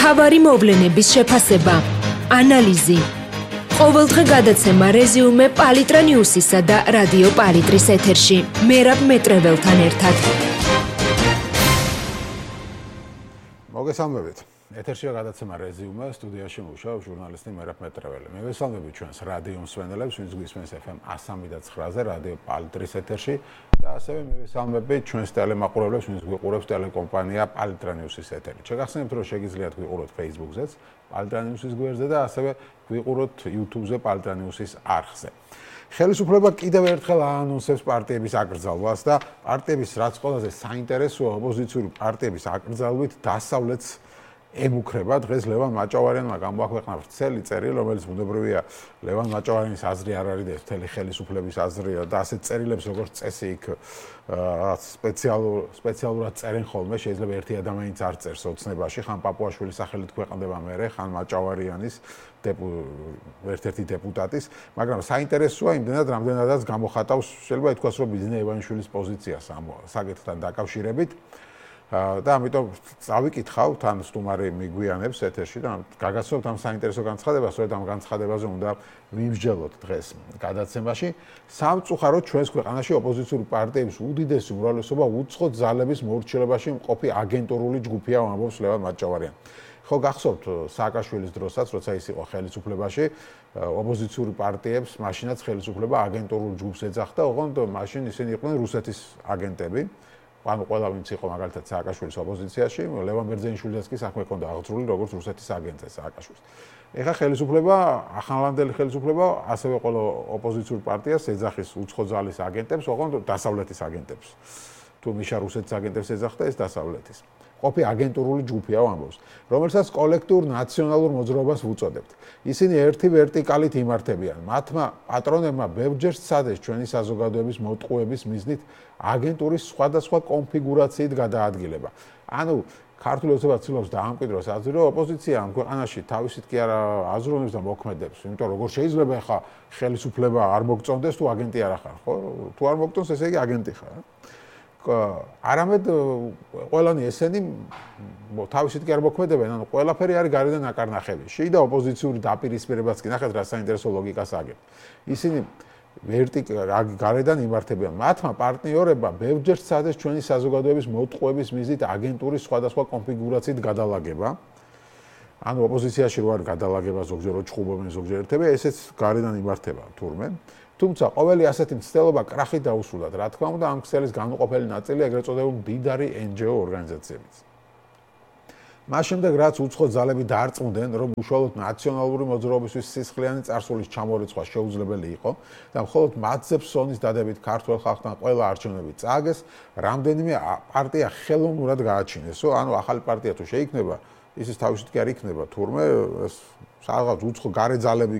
მთავარი მოვლენების შეფასება, ანალიზი. ყოველდღე გადაცემა რეზიუმე პალიტრა ნიუსისა და რადიო პალიტრის ეთერში. მერაბ მეტრეველთან ერთად. მოგესალმებით. ეთერშია გადაცემა რეზიუმე, სტუდიაში მუშაობს ჟურნალისტი მერაბ მეტრეველი. მე ვესალმები ჩვენს რადიო მსმენელებს, ვინც გვისმენს FM 103.9-ზე რადიო პალიტრის ეთერში და ასევე მე ვესალმები ჩვენს ტელემაყურებლებს, ვინც გვიყურებს ტელეკომპანია პალიტრა ნიუსის ეთერით. შეგახსენებთ, რომ შეგიძლიათ გვიყუროთ Facebook-ზეც, პალიტრა ნიუსის გვერდზე და ასევე გვიყუროთ YouTube-ზე პალიტრა ნიუსის არხზე. ხელისუფლება კიდევ ერთხელ აანონსებს პარტიების აკრძალვას და პარტიების რაც ყველაზე საინტერესოა ოპოზიციური პარტიების აკრძალვით დასავლეთს ემუქრება. დღეს ლევან მაჭავარიანმა გამოაქვეყნა ვრცელი წერილი, რომელიც ბუნებრივია ლევან მაჭავარიანის აზრი არ არის და მთელი ხელისუფლების აზრია და ასეთ წერილებს როგორც წესი იქ სპეციალურად წერენ ხოლმე, შეიძლება ერთი ადამიანიც არ წერს ოცნებაში, ხან პაპუაშვილის სახელით ქვეყნდება მერე, ხან მაჭავარიანის ერთ-ერთი დეპუტატის, მაგრამ საინტერესოა იმდენად, რამდენადაც გამოხატავს, შეიძლება ითქვას, რომ ბიზნე ივანიშვილის პოზიციას ამ საკითხთან დაკავშირებით. და ამიტომ წავიკითხავ თან სტუმარი მიგვიანებს ეთერში და გაგაცნობთ ამ საინტერესო განცხადებას, სწორედ ამ განცხადებაზე უნდა ვიმსჯელოთ დღეს გადაცემაში. სამწუხაროდ ჩვენს ქვეყანაში ოპოზიციური პარტიების უდიდესი უმრავლესობა უცხო ძალების მორჩილებაში მყოფი აგენტურული ჯგუფია, ამბობს ლევან მაჭავარიანი. ხო გახსოვთ სააკაშვილის დროსაც, როცა ის იყო ხელისუფლებაში, ოპოზიციური პარტიებს მაშინაც ხელისუფლება აგენტურულ ჯგუფს ეძახდა, ოღონდ მაშინ ისინი იყვნენ რუსეთის აგენტები. ანუ ყველა ვინც იყო მაგალითად სააკაშვილის ოპოზიციაში, ლევან ბერძენიშვილსაც კი საქმე ჰქონდა აღძრული როგორც რუსეთის აგენტზე სააკაშვილს. ეხლა ხელისუფლება, ახალგაზრდული ხელისუფლება ასევე ყველა ოპოზიციური პარტიას ეძახის უცხო ძალის აგენტებს, ოღონდ დასავლეთის აგენტებს. თუ მიშა რუსეთის აგენტებს ეძახდა, ეს დასავლეთის. ყოფი აგენტურული ჯგუფია ამბობს, რომელსაც კოლექტიურ ნაციონალურ მოძრაობას ვუწოდებთ. ისინი ერთი ვერტიკალით იმართებიან. მათმა პატრონებმა ბევრჯერ სცადეს ჩვენი საზოგადოების მოტყუების მიზნით აგენტურის სხვადასხვა კონფიგურაციით გადაადგილება. ანუ ქართული ოცნება ცდილობს დაამკვიდროს აზრი, რომ ოპოზიცია ამ ქვეყანაში თავისით კი არა აზროვნებს და მოქმედებს, იმიტომ რომ როგორ შეიძლება ახლა ხელისუფლება არ მოგწონდეს თუ აგენტი არ ახარ, ხო? თუ არ მოგწონს, ესე იგი აგენტი ხარ. არამედ ყველანი ესენი თავისით კი არ მოქმედებენ, ანუ ყველაფერი არის გარედან აკარნახები. შიდა ოპოზიციური დაპირისპირებაც კი ნახეთ რა საინტერესო ლოგიკას აგებს. ისინი გარედან იმართებიან. მათმა პარტნიორებმა ბევრჯერ სცადეს ჩვენი საზოგადოების მოტყუების მიზნით აგენტურის სხვადასხვა კონფიგურაციით გადალაგება. ანუ ოპოზიციაში რო არის გადალაგება, ზოგჯერ ჩხუბობენ, ზოგჯერ ერთები, ესეც გარედან იმართება თურმე. თუმცა ყოველი ასეთი მცდელობა კრახით დაუსრულდა. რა თქმა უნდა, ამ ქსელის განუყოფელი ნაწილი ეგრეთ წოდებული მდიდარი NGO ორგანიზაციებიც. მას შემდეგ, რაც უცხო ძალები დაარწმუნდნენ, რომ უშუალოდ ნაციონალური მოძრაობისთვის სისხლიანი წარსულის ჩამორიცხვა შეუძლებელი იყო და მხოლოდ მათზე ფსონის დადებით ქართულ ხალხთან ყველა არჩევნები წააგეს, რამდენიმე პარტია ხელოვნურად გააჩინესო, ანუ ახალი პარტია თუ შეიქმნება, ისიც თავისით კი არ იქნება, თურმე რაღაც უცხო გარე ძალები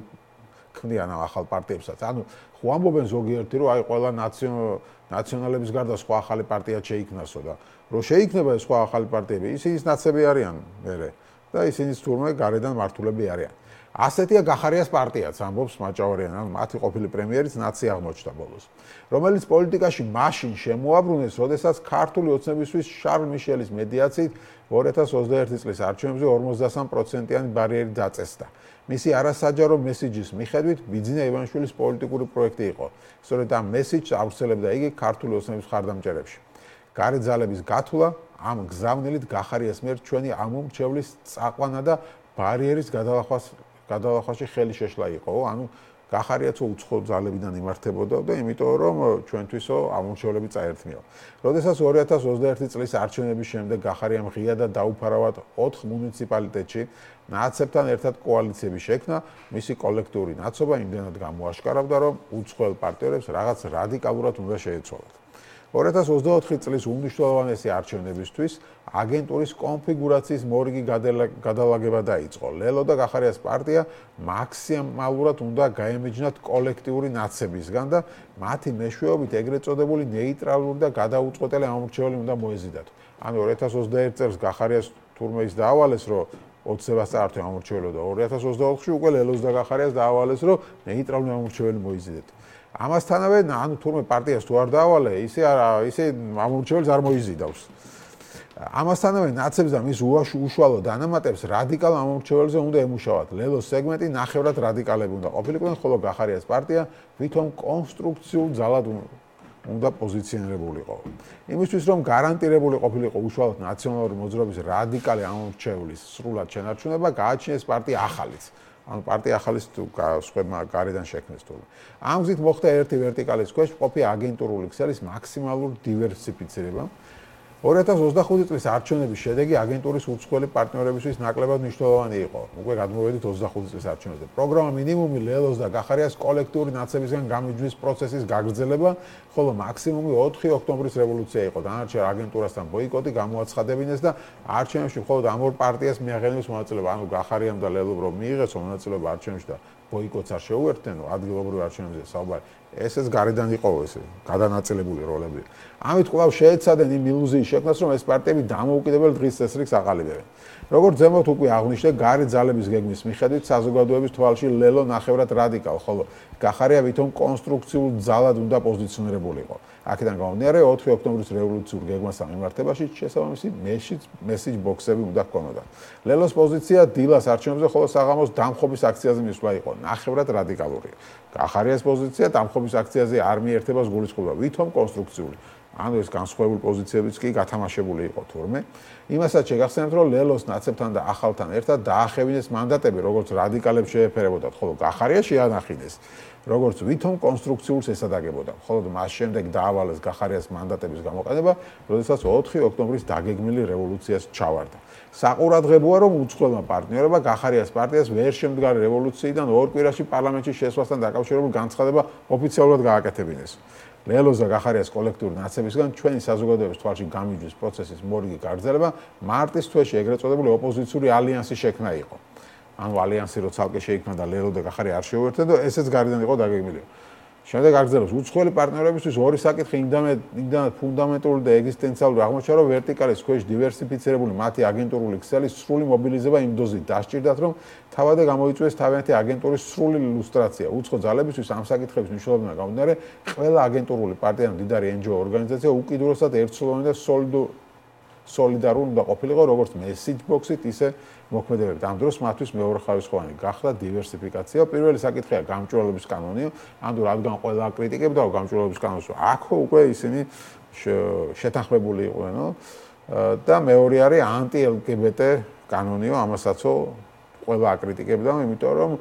ქმნიან ამ ახალ პარტიებსაც. ანუ ხო ამბობენ ზოგიერთი, რომ აი ყველა ნაციონალების გარდა სხვა ახალი პარტია შეიქმნასო და რომ შეიქმნება ეს სხვა ახალი პარტიები, ისინიც ნაცები არიან მერე და ისინიც თურმე გარედან მართულები არიან. ასეთია გახარიას პარტიაც, ამბობს მაჭავარიანი, ანუ მათი ყოფილი პრემიერიც ნაცი აღმოჩნდა ბოლოს, რომელიც პოლიტიკაში მაშინ შემოაბრუნეს, როდესაც ქართული ოცნებისთვის შარლ მიშელის მედიაციით 2021 წლის არჩევნებზე 53%-იანი ბარიერი დაწესდა. მისი არასაჯარო მესიჯის მიხედვით ბიძინა ივანიშვილის პოლიტიკური პროექტი იყო. სწორედ ამ მესიჯს ავრცელებდა იგი ქართული ოცნების მხარდამჭერებში. გარე ძალების გათვლა ამ გზავნილით გახარიას მიერ ჩვენი ამომრჩევლის წაყვანა და ბარიერის გადალახვაში ხელი შეშლა იყო. ანუ გახარიაც უცხო ძალებიდან იმართებოდა და იმიტომ რომ ჩვენთვისო ამომრჩევლები წაერთმიო. როდესაც 2021 წლის არჩევნების შემდეგ გახარიამ ღია და დაუფარავად 4 მუნიციპალიტეტში ნაცებთან ერთად კოალიციები შექმნა, მისი კოლექტიური ნაცობა იმდენად გამოაშკარავდა, რომ უცხოელ პარტნიორებს რაღაც რადიკალურად უნდა შეეცვალათ. 2024 წლის უმნიშვნელოვანესი არჩევნებისთვის აგენტურის კონფიგურაციის მორიგი გადალაგება დაიწყო. ლელო და გახარიას პარტია მაქსიმალურად უნდა გაემეჯნათ კოლექტიური ნაცებისგან და მათი მეშვეობით ეგრეთ წოდებული ნეიტრალური და გადაუწყვეტელი ამომრჩეველი უნდა მოეზიდათ. ანუ 2021 წელს გახარიას თურმე ის დაავალეს, რომ 20-ს წაართვე ამორჩეველი და 2024-ში უკვე ლელოს და გახარიას დაავალეს, რომ ნეიტრალური ამორჩეველი მოიზიდეთ. ამასთანავე, ანუ თურმე პარტიას თუ არ დაავალე, ისე ამორჩეველს არ მოიზიდავს. ამასთანავე ნაცებს და მის უშუალო დანამატებს რადიკალ ამომრჩეველზე უნდა ემუშავათ. ლელოს სეგმენტი ნახევრად რადიკალები უნდა ყოფილიყვნენ, ხოლო გახარიას პარტია ვითომ კონსტრუქციულ ძალად უნდა პოზიციონირებულიყო. იმისთვის რომ გარანტირებული ყოფილიყო უშუალოდ ნაციონალური მოძრაობის რადიკალი ამომრჩეველის სრულად შენარჩუნება, გააჩინეს პარტია ახალიც. ანუ პარტია ახალის სხვებმა გარედან შექმნეს თურმე. ამ გზით მოხდა ერთი ვერტიკალის ქვეშ მყოფი აგენტურული ქსელის მაქსიმალური დივერსიფიცირება. 2025 წლის არჩევნების შედეგი აგენტურის უცხოელი პარტნიორებისთვის ნაკლებად მნიშვნელოვანი იყო. უკვე გადმოვედით 25 წლის არჩევნებზე. პროგრამა მინიმუმი ლელოს და გახარიას კოლექტიური ნაცებისგან გამიჯვნის პროცესის გაგრძელება, ხოლო მაქსიმუმი 4 ოქტომბრის რევოლუცია იყო. დანარჩენ აგენტურასთან ბოიკოტი გამოაცხადებინეს და არჩევნებში მხოლოდ ამ ორ პარტიას მიაღწიეს მონაწილეობა. ანუ გახარიამ და ლელომ რომ მიიღეს მონაწილეობა არჩევნებში და ბოიკოტს არ შეუერთდენო ადგილობრივ არჩევნებზე საუბარი. ესეც გარედან იყო ეს გადანაწილებული როლები. ამით კვლავ შეეცადნენ იმ ილუზიის შექმნას, რომ ეს პარტიები დამოუკიდებელ დღის წესრიგს აყალიბებენ. როგორც ზემოთ უკვე აღვნიშნე, გარე ძალების გეგმის მიხედვით საზოგადოების თვალში ლელო ნახევრად რადიკალ, ხოლო გახარია ვითომ კონსტრუქციულ ძალად უნდა პოზიციონირებულიყო. აქედან გამომდინარე, 4 ოქტომბრის რევოლუციურ გეგმასთან მიმართებაში შესაბამისი მესიჯ ბოქსები უნდა ჰქონოდა. ლელოს პოზიცია დილას არჩევნებზე, ხოლო საღამოს დამხობის აქციაზე მისვლა იყო ნახევრად რადიკალური. გახარიას პოზიცია დამხობის აქციაზე არ მიერთებას გულისხმობდა, ვითომ კონსტრუქციული. ანუ ეს განსხვავებული პოზიციებიც კი გათამაშებული იყო თურმე. იმასაც შეგახსენებთ, რომ ლელოს ნაცებთან და ახალთან ერთად დაახევინეს მანდატები, როგორც რადიკალებს შეეფერებოდათ, ხოლო გახარია შეანახინეს, როგორც ვითომ კონსტრუქციულს ესადაგებოდა. ხოლო მას შემდეგ დაავალეს გახარიას მანდატების გამოყენება, როდესაც 4 ოქტომბრის დაგეგმილი რევოლუციას ჩავარდა. საყურადღებოა, რომ უცხოელმა პარტნიორებმა გახარიას პარტიას ვერ შემდგარი რევოლუციიდან ორ კვირაში პარლამენტში შესვლასთან დაკავშირებულ განცხადება ოფიციალურად გააკეთებინეს. ლელოს და გახარიას კოლექტიური ნაცებისგან ჩვენი საზოგადოების თვალში გამიჯვნის პროცესის მორიგი გაგრძელება მარტის თვეში ეგრეთ წოდებული ოპოზიციური ალიანსის შექმნა იყო. ანუ ალიანსი რო ცალკე შეიქმნა და ლელო და გახარია არ შეუერთდა და ესეც გარედან იყო დაგეგმილი. შემდეგ აგრძელებს უცხოელი პარტნიორებისთვის ორი საკითხი იმდანაც ფუნდამენტური და ეგზისტენციალური აღმოჩნდა, რომ ვერტიკალის ქვეშ დივერსიფიცირებული მათი აგენტურული ქსელის სრული მობილიზება იმ დოზით დასჭირდათ, რომ თავადე გამოიწვიეს თავიანთი აგენტურის სრული ილუსტრაცია. უცხო ძალებისთვის ამ საკითხების მნიშვნელობიდან გამომდინარე, ყველა აგენტურული პარტია და მდიდარი NGO ორგანიზაცია უკიდურესად ერთსულოვანი და სოლიდარული უნდა ყოფილიყო, როგორც message box-ით, ისე მოქმედებებით. ამ დროს მათთვის მეორეხარისხოვანი გახდა დივერსიფიკაცია. პირველი საკითხია გამჭვირვალობის კანონი, ანუ რადგან ყველა კრიტიკებდა გამჭვირვალობის კანონს, აქ უკვე ისინი შეთანხმებული იყვენო და მეორე არის ანტი-LGBT კანონიო, ამასაც ყველა აკრიტიკებდა, იმიტომ რომ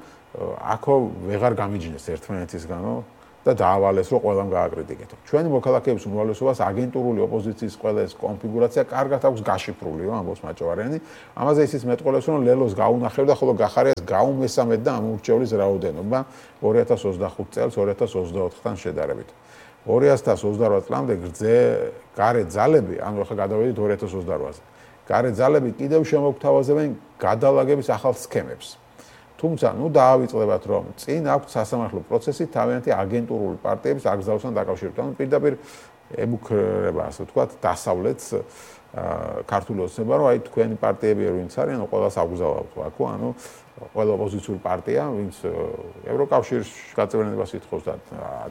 აქ ვეღარ გამიჯნეს ერთმანეთისგანო და დაავალეს, რომ ყველამ გააკრიტიკეთო. ჩვენი მოქალაქეების უმრავლესობას აგენტურული ოპოზიციის ყველა ეს კონფიგურაცია კარგად აქვს გაშიფრული, ამბობს მაჭავარიანი. ამაზე ისიც მეტყოლებს, რომ ლელოს გაუნახებდა, ხოლო გახარიას გაუმესამედ და ამურჩევლის რაოდენობა 2025 წელს 2024-თან შედარებით. 2028 წლამდე გარე ძალები, ანუ ახლა გადავედით 2028-ზე. გარე ძალები კიდევ შემოგთავაზებენ გადალაგების ახალ სქემებს. თუმცა, დაავიწყდებათ, რომ წინ აქვს სასამართლო პროცესი თავიანთი აგენტურული პარტიების აკრძალვასთან დაკავშირებით. ანუ პირდაპირ ემუქრება, ასე ვთქვათ, დასავლეთს ქართული ოცნება, რომ თქვენი პარტიები ვინც არიან, ყველას აკრძალავთ აქ, ანუ ყველა ოპოზიციური პარტია, ვინც ევროკავშირში გაწევრიანებას ითხოვს და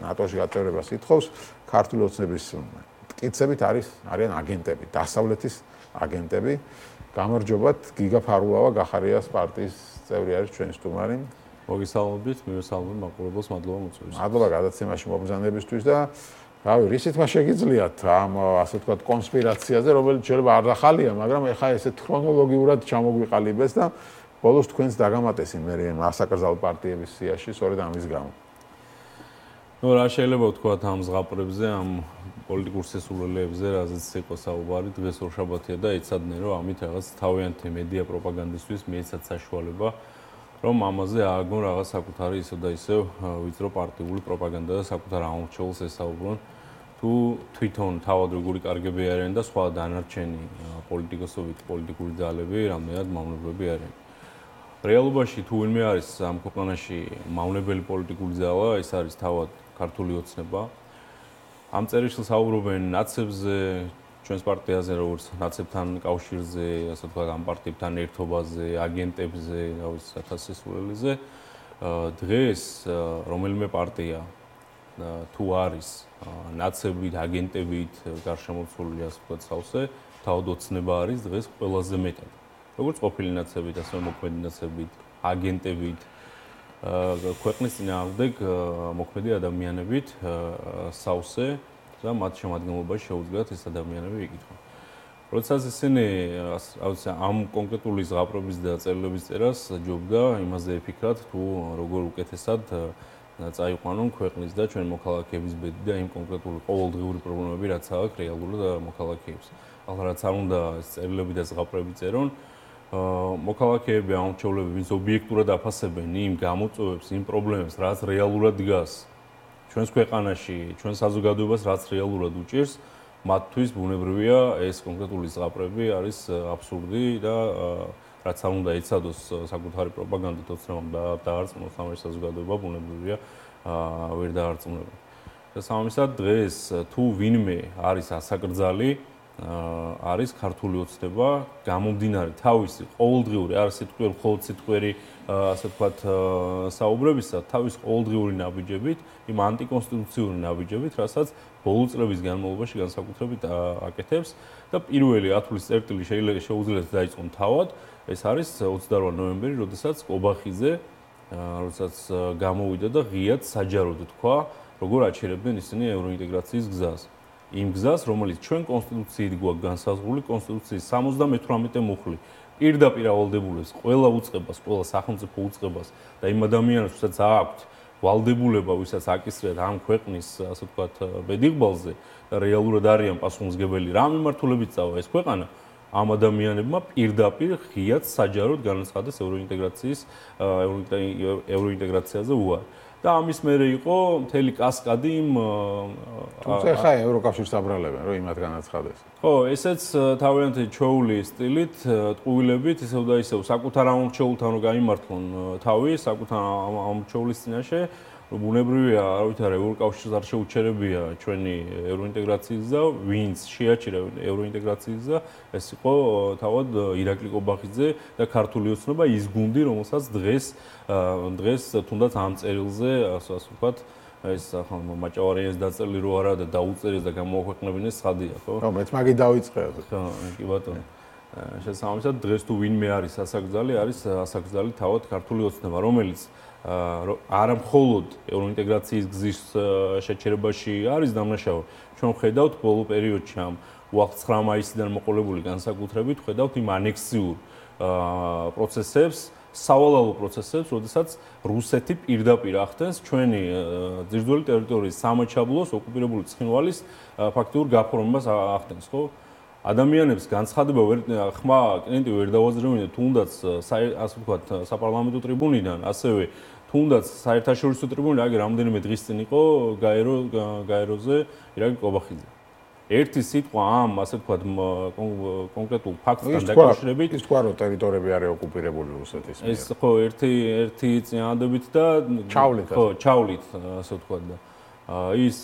ნატოში გაწევრებას ითხოვს, ქართული ოცნების მტკიცებით არიან აგენტები, დასავლეთის აგენტები. გამარჯობათ, გიგა ფარულავა გახარიას პარტიის წევრი არის ჩვენი სტუმარი. მოგესალმებით, მივესალმებ მაყურებელს, მადლობა მოწვევისთვის. მადლობა გადაცემაში მობრძანებისთვის და რავი, რისითმა შეგიძლიათ ამ ასე ვთქვათ კონსპირაციაზე, რომელიც შეიძლება არ ახალია, მაგრამ ეხა ესე ქრონოლოგიურად ჩამოგვიყალიბეს და ბოლოს თქვენს დაგამატესინ მე მასაკრძალ პარტიების სიაში, სწორედ ამის გამო. რა შეიძლება ვთქვათ ამ ზღაპრებზე, ამ პოლიტიკურ სესულელებზე, რაზეც იყო საუბარი, დღეს ორშაბათია და იცადნენ, რომ ამით რაღაც თავიანთი მედია პროპაგანდისთვის მიეცათ საშუალება, რომ ამაზე ააგონ რაღაც საკუთარი ისევ და ისევ ვიწრო პარტიული პროპაგანდა და საკუთარ ამორჩეულს ესაუბრონ, თუ თვითონ თავად როგორი კარგები არიან და სხვა დანარჩენი პოლიტიკური ძალები, რამდენად მავნებლები არიან. რეალობაში თუ ვინმე არის ამ ქვეყანაში მავნებელი პოლიტიკური ძალა, ეს არის თავად ქართული ოცნება. ამ წერილში საუბრობენ ნაცებზე, ჩვენს პარტიაზე, როგორც ნაცებთან კავშირზე, ასე ვთქვათ, ამ პარტიებთან ერთობაზე, აგენტებზე, რავი, სათასისულელიზე. დღეს რომელიმე პარტია თუ არის ნაცებით, აგენტებით გარშემოცული, ასე ვთქვათ, სავსე, თავად ოცნება არის დღეს ყველაზე მეტად. როგორც ყოფილი ნაცებით, ასევე მოქმედი ნაცებით, აგენტებით, ქვეყნის წინააღმდეგ მოქმედი ადამიანებით სავსე და მათ შემადგენლობაში შეუძლიათ ეს ადამიანები იკითხონ. როდესაც ისინი ამ კონკრეტული ზღაპრების და წერილების წერას ჯობდა იმაზე ეფიქრათ, თუ როგორ უკეთესად წაიყვანონ ქვეყნის და ჩვენ მოქალაქეების ბედი და იმ კონკრეტული ყოველდღიური პრობლემები, რაც აქვს რეალურად მოქალაქეებს. ახლა რაც არ უნდა წერილები და ზღაპრები წერონ, მოქალაქეები, ამორჩევლები, ვინც ობიექტურად აფასებენ იმ გამოწვევებს, იმ პრობლემებს, რაც რეალურად დგას ჩვენს ქვეყანაში, ჩვენ საზოგადოებას, რაც რეალურად უჭირს, მათთვის ბუნებრივია ეს კონკრეტული ზღაპრები არის აბსურდი და რაც არ უნდა ეცადოს საკუთარი პროპაგანდით ოცნებამ დაარწმუნოს ამ საზოგადოება ბუნებრივია ვერ დაარწმუნება. და სამისად დღეს თუ ვინმე არის ასაკრძალი არის ქართული ოცნება გამომდინარე თავისი ყოველდღიური არ სიტყვიერ მხოლოდ სიტყვიერი ასე ვთქვათ საუბრებისა თავის ყოველდღიური ნაბიჯებით იმ ანტიკონსტიტუციური ნაბიჯებით რასაც ბოლო წლების განმავლობაში განსაკუთრებით აკეთებს და პირველი 10 წლის წერტილი შეუძლიათ დაიწყონ თავად ეს არის 28 ნოემბერი როდესაც კობახიძე როდესაც გამოვიდა და ღიად საჯაროდ თქვა როგორ აჩერებდნენ ისინი ევროინტეგრაციის გზას იმ გზას, რომელიც ჩვენ კონსტიტუციით გვაქვს განსაზღვრული, კონსტიტუციის 78 მუხლი პირდაპირ ავალდებულებს ყველა უწყებას, ყველა სახელმწიფო უწყებას და იმ ადამიანებს, ვისაც აქვთ ვალდებულება, ვისაც აკისრიათ ამ ქვეყნის, ასე ვთქვათ, ბედიღბალზე და რეალურად არიან პასუხისმგებელი რა მიმართულებით წავა ეს ქვეყანა, ამ ადამიანებმა პირდაპირ ღიად საჯაროდ განაცხადეს ევროინტეგრაციაზე უარი. და ამის მერე იყო მთელი კასკადი თუმცა ხა ევროკავშირს აბრალებენ რომ იმათ განაცხადეს. ხო, ესეც თავიანთი ჩვეული სტილით, ტყუილებით, ისევ და ისევ საკუთარ ამორჩეულთან რომ გაიმართლონ თავი, საკუთარ ამორჩეულის წინაშე, რომ ბუნებრივია, არ ვითარ ევროკავშირს არ შეუჩერებია ჩვენი ევროინტეგრაციის და ვინც შეაჩერა ევროინტეგრაციის და ეს იყო თავად ირაკლი კობახიძე და ქართული ოცნება ის გუნდი, რომელსაც დღეს თუნდაც ამ წერილზე, ასე ვთქვათ, ეს მაჭავარიანის დაწერილი რო არა და დაუწერეს და გამოაქვეყნებინეს ცხადია, ხო? ხო, მეც მაგი დავიწყე. ხო, კი ბატონო. შესაბამისად დღეს თუ ვინმე არის ასაკრძალი, არის ასაკრძალი თავად ქართული ოცნება, რომელიც არა მხოლოდ ევროინტეგრაციის გზის შეჩერებაში არის დამნაშავე. ჩვენ ხედავთ ბოლო პერიოდში ამ უახლ 9 მაისიდან მოყოლებული განსაკუთრებით, ხედავთ იმ ანექსიურ პროცესებს, სავალალო პროცესებს, როდესაც რუსეთი პირდაპირ ახდენს ჩვენი ძირძველი ტერიტორიის სამაჩაბლოს ოკუპირებული ცხინვალის ფაქტიურ გაფორმებას ახდენს, ხო? ადამიანებს განცხადება ხმა კლინტი ვერ დავაზრევინე თუნდაც ასე ვთქვათ საპარლამენტო ტრიბუნიდან, ასევე თუნდაც საერთაშორისო ტრიბუნიდან, აგერ რამდენიმე დღის წინ იყო გაეროზე ირაკლი კობახიძე. ერთი სიტყვა ამ ასე ვთქვათ კონკრეტულ ფაქტთან დაკავშირებით ის თქვა რომ ტერიტორიები არის ოკუპირებული რუსეთის მიერ. ეს ხო ერთი წინადადებით და ჩავლით ხო ჩავლით ასე ვთქვათ და ის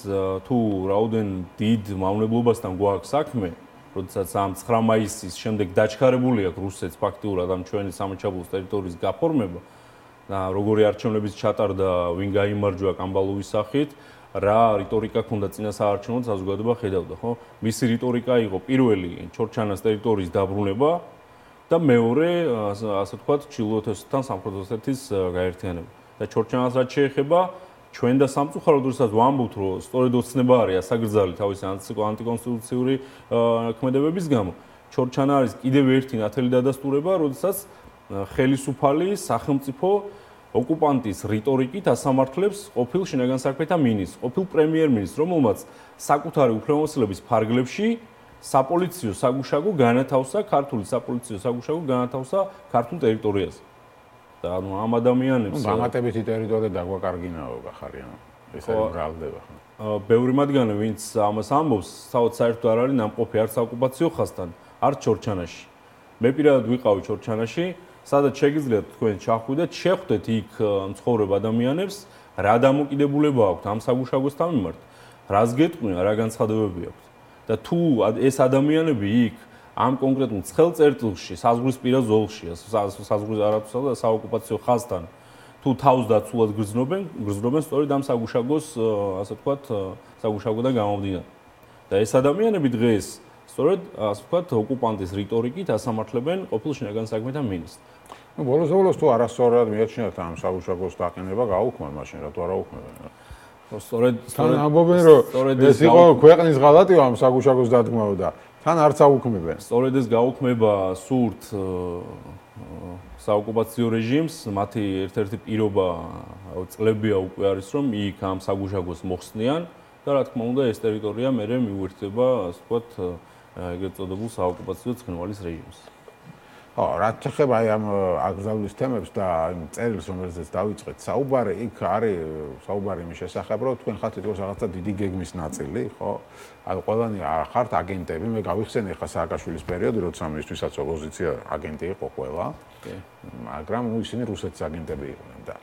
თუ რაოდენ დიდ მავნებლობასთან გვაქვს საქმე როდესაც ამ 9 მაისის შემდეგ დაჩქარებული აქვს რუსეთს ფაქტიურად ამ ჩვენი სამაჩაბლოს ტერიტორიის გაფორმება და როგორი არჩევნების ჩატარდა, ვინ გაიმარჯვა კამბალოვის სახით, რა რიტორიკა ქონდა წინასაარჩევნო საზოგადოება ხედავდა, ხო? მისი რიტორიკა იყო პირველი ჩორჩანას ტერიტორიის დაბრუნება და მეორე, ასე ვთქვათ, ჩრდილოეთ ოსეთთან სამხრეთ ოსეთის გაერთიანება. და ჩორჩანას რაც შეეხება ჩვენ და სამწუხაროდ როდესაც ვამბობთ, რომ სწორედ ოცნება არის ასაკრძალი თავისი ანტიკონსტიტუციური ქმედებების გამო, ჩორჩანა არის კიდევ ერთი ნათელი დადასტურება, როდესაც ხელისუფალი სახელმწიფო ოკუპანტის რიტორიკით ასამართლებს ყოფილ შინაგან საქმეთა მინისტრს, ყოფილ პრემიერ-მინისტრს, რომელმაც საკუთარი უფლებამოსილების ფარგლებში საპოლიციო საგუშაგო განათავსა, ქართული საპოლიციო საგუშაგო განათავსა ქართულ ტერიტორიაზე. და ამ ადამიანებს დამატებითი ტერიტორია დაგვაკარგინაო გახარიან. ეს არის მრავლდება. ბევრი მათგანი, ვინც ამას ამბობს, საერთოდ არ არის ნამყოფი არც ოკუპაციო ხაზთან, არც ჩორჩანაში. მე პირადად ვიყავი ჩორჩანაში, სადაც შეგიძლიათ თქვენ ჩახვიდეთ, შეხვდეთ იქ მცხოვრებ ადამიანებს, რა დამოკიდებულება აქვთ ამ საგუშაგოსთან მიმართ, რას გეტყვიან, რა განცხადებები აქვთ. და თუ ეს ადამიანები იქ ამ კონკრეტულ ცხელ წერტილში, საზღვრისპირა ზოლში, საზღვრის არათუსა და საოკუპაციო ხაზთან, თუ თავს დაცულად გრძნობენ სწორედ ამ საგუშაგოს, ასე ვთქვათ, საგუშაგოდან გამომდინარე. და ეს ადამიანები დღეს სწორედ ასე ვთქვათ, ოკუპანტის რიტორიკით ასამართლებენ ყოფილ შინაგან საქმეთა მინისტრს. ნუ ბოლოს თუ არასწორად მიაჩნიათ ამ საგუშაგოს დაყენება, გაუქმან მაშინ რატო არ აუქმებენ? სწორედ ამბობენ რომ ეს იყო ქვეყნის ღალატი ამ საგუშაგოს დადგმაო და თან არც აუქმებენ. სწორედ ეს გაუქმება სურთ საოკუპაციო რეჟიმს, მათი ერთ-ერთი პირობა წლებია უკვე არის რომ იქ ამ საგუშაგოს მოხსნიან და რა თქმა უნდა ეს ტერიტორია მერე მიუერთდება, ასე ვთქვათ, ეგრეთ წოდებულ საოკუპაციო ცხინვალის რეჟიმს. რაც ეხება აი ამ აკრძალვის თემებს და იმ წერილს, რომელზეც დავიწყეთ საუბარი, იქ არის საუბარი იმის შესახებ, რომ თქვენ ხართ თითქოს რაღაცა დიდი გეგმის ნაწილი, ხო? ანუ ყველანი ხართ აგენტები, მე გავიხსენე ხა სააკაშვილის პერიოდი, როცა მისთვისაც ოპოზიცია აგენტი იყო ყველა, მაგრამ ნუ ისინი რუსეთის აგენტები იყვნენ და